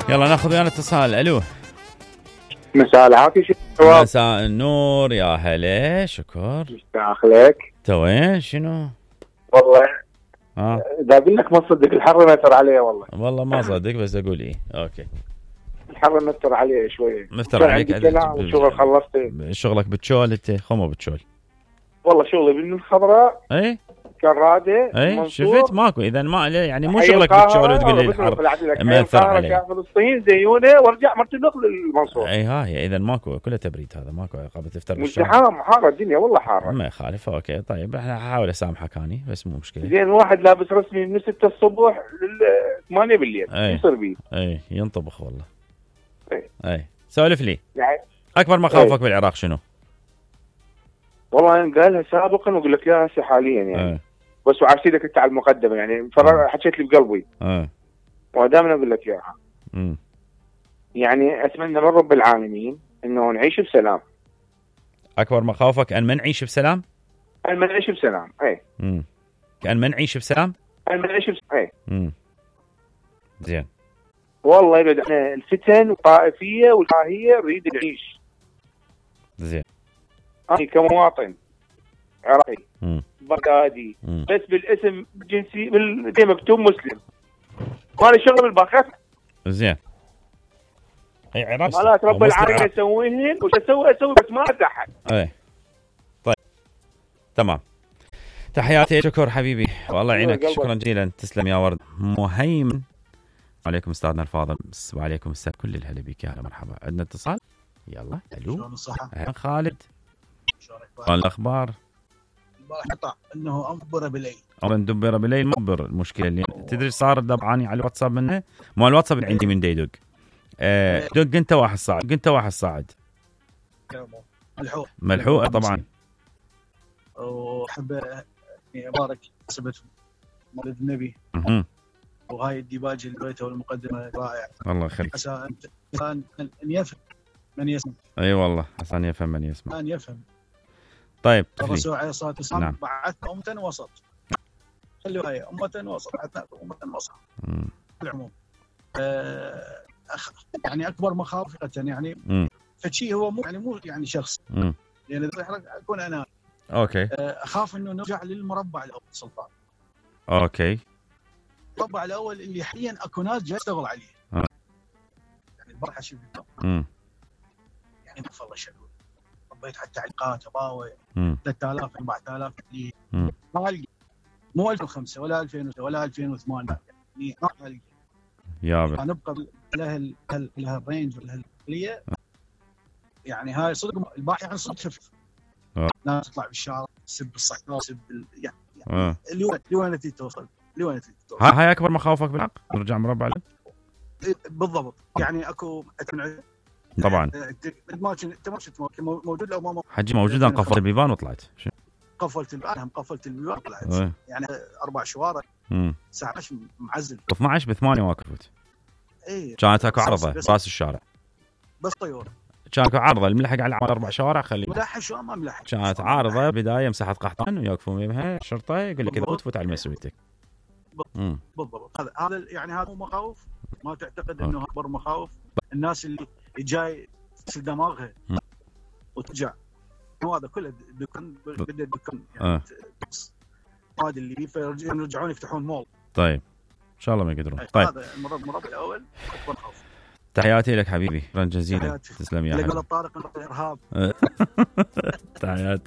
يلا ناخذ ويانا اتصال. الو مساء العافية شباب. مساء النور يا هلا. شكر. مستاخلك. توين شنو والله اذا اقول لك ما تصدق الحر مأثر عليه والله ما صدق بس اقول ايه. اوكي الحر مأثر عليه شوي. مفتر عليك شغل خلصت شغلك بتشول انت خمو بتشول والله شغلي بالخضراء. اي كرادة. اي شفت ماكو اذا ما يعني مو شغلك بتشول وتقول لي الحر مأثر عليه. فلسطين زيونه وارجع مرتبط للمنصور. اي هاي اذا ماكو كله تبريد هذا ماكو عقاب تفتر بالشهر. مزدحام حاره الدنيا والله حاره. ما يخالف. اوكي طيب احنا هحاول اسامحك اني بس مو مشكله. زين واحد لابس رسمي من 6 الصبح لل 8 بالليل يصير بيه. اي ينطبخ والله. اي سولف لي يعني اكبر مخاوفك بالعراق شنو؟ والله انا قالها سابقا واقول لك اياها هسه حاليا يعني بس وعارسيدك انت على المقدمه يعني حكيت لي بقلبي ودائما اقول لك اياها. يعني اتمنى من رب العالمين انه نعيش بسلام. اكبر مخاوفك ان ما نعيش بسلام؟ ان ما نعيش بسلام. اي كأن ما نعيش بسلام؟ ان ما نعيش بسلام. اي زين والله يبعد عنا الفتن والطائفيه والكراهيه نريد نعيش. زين انا كمواطن عراقي بغدادي بس بالاسم جنسي بالدي مكتوب مسلم مالي شغل بالباخات. زين اي عراق مالات رب العالمين اسويهن وش اسوي بس ما اتحد. اي طيب تمام. تحياتي. شكر حبيبي والله يعينك. شكرا جزيلا. تسلم يا ورد. مهيمن. عليكم استاذنا الفاضل. وعليكم السلام. كل الهلا بك. يا هلا مرحبا. عندنا اتصال. يلا الو. شلون الصحة؟ خالد. شلون الاخبار؟ البارح قطع انه انبر بالليل. ندبر بالليل مبر. المشكله اللي تدري صار دبعاني على الواتساب منه مو الواتساب اللي عندي من ديدق. دق انت واحد صاعد. دق انت واحد صاعد. ملحوقه طبعا. وحب ابارك سبت مولد النبي. وهاي الديباج اللي بيته والمقدمه رائع. الله يخليك. عسى ان يفهم من يسمع. اي والله عسى ان يفهم من يسمع. ان يفهم. طيب الرسول عليه الصلاه والسلام نعم. بعثنا امه وسط. خلوا هي امه وسط. بعثنا امه وسط. بالعموم يعني اكبر مخاوف يعني فشي هو مو يعني شخص. يعني اكون انا اوكي اخاف انه نرجع للمربع الاول سلطان. اوكي المربع الاول اللي حاليا اكو ناس جاي تشتغل عليه. يعني البارحه شفت يعني ما والله شنو ربيت على التعليقات اباوي 3000 4000 اللي ما القى مو 2005 ولا 2000 ولا 2008 يعني ما القى يا نبقى لهالرينج ولهالكليه. يعني هاي صدق البارحه يعني صدق شفت ناس تطلع بالشارع تسب الصحراء تسب يعني لوين توصل لوين توصل. هاي اكبر مخاوفك بالحق نرجع مربع له بالضبط. يعني اكو طبعا ما كنت موجود لو ما حجي موجود. انا قفلت البيبان وطلعت. قفلت البيبان وطلعت. يعني 4 شوارع الساعه 10 معزل 12 ب8 ما كفوت. اي كانت اكو عرضه راس الشارع بس طيور. كان اكو عارضه الملحق على العمل 4 شوارع خليه ملحق شو ما ملحق. كانت عارضه بدايه مساحه قحطان ويوقفون يمها الشرطه يقول لك اذا تفوت على مسؤوليتك. بالضبط. هذا يعني هذا مخاوف. ما تعتقد انه اكبر مخاوف الناس اللي جاي تغسل دماغها وترجع. هذا كله دكان بده دكان يعني هذا اللي يرجعون يفتحون مول. طيب ان شاء الله ما يقدرون. طيب هذا المربع الاول اكبر خوف. تحياتي لك حبيبي. شكرا جزيلا. تسلم يا حبيبي. طارق الارهاب. تحياتي.